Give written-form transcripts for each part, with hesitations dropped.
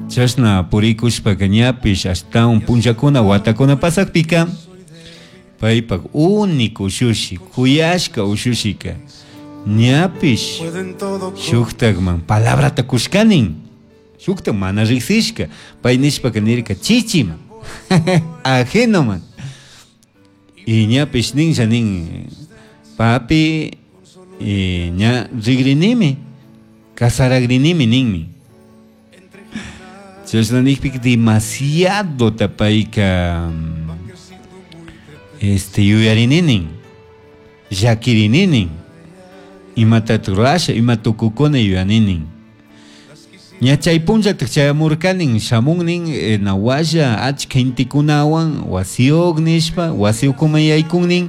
Chashna purikushpaka ñapish ashtawan punllakuna watakuna pasakpika paypak único ushushi kuyashka ushushika ñapish Pueden todo shuktakman palabrata kushkanin shuktak mana riksishka pay nishpaka nirka chichiman ajenoman y ñapish ninlla nin papi y ña rigrinimi casaragrinimi ninmi chashna nikpika demasiadota payka este yuyarini nin llakirini nin imatatak rurasha ima tukukuna yuyani nin ña chay punllatak chayamurkanin shamun nin nawalla achka gentekunawan wasiyuq nishpa wasi ukuman yaykun nin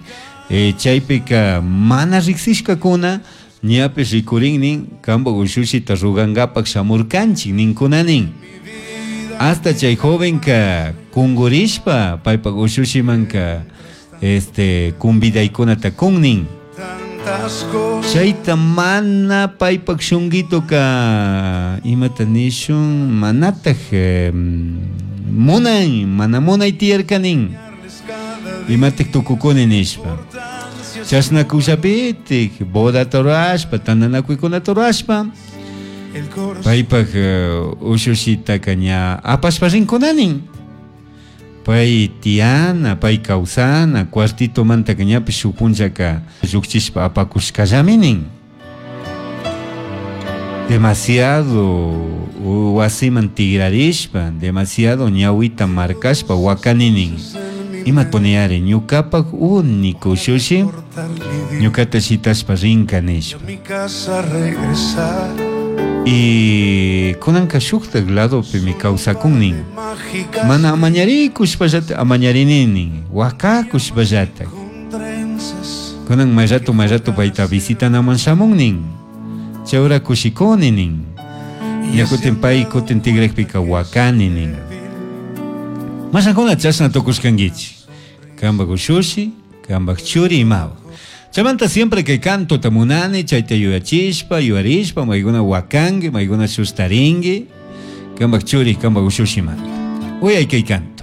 chaypika mana riksishkakuna ñapish rikurin nin kanpak ushushita rugankapak shamurkanchik ninkuna nin hasta chay jovenka kungurishpa paypak ushushimanka este convidaykunata kun nin tantas cosas. chayta mana paypak shunguitoka imata nishun manataj munan mana munay tiyarka nin imatik tukukuni nishpa chashna kushapitik bodata rurashpa tantanakuykunata rurashpa El corazón paypak ushushitaka ña apashpa rinkuna nin pay tiyana pay kawsana cuartitomantaka ñapish shuk punllaka llukchishpa apakushkallami nin demasiado wasiman tigrarishpa demasiado ñawita marcashpa wakani nin ima puniyari ñukapak único ushushi cortar mi ñukata shitashpa rinka nishpa a mi casa regresar. y kunanka shuktak ladopimi kawsakun nin Mágica mana amañarikushpallata amañarini nin wakakushpallata con trenzas. kunan may rato may rato payta visitanaman shamun nin chayura kushikuni nin ña kutin pay kutin tigrakpika wakani nin mashakuna chashna tukushkankichik kanpak ushushi kanpak churi imawan chaymanta siempre kay cantota munani chayta yuyachishpa yuyarishpa maykuna wakanki maykuna sustarinki kanpak churi kanpak ushushimanta uyay kay canto.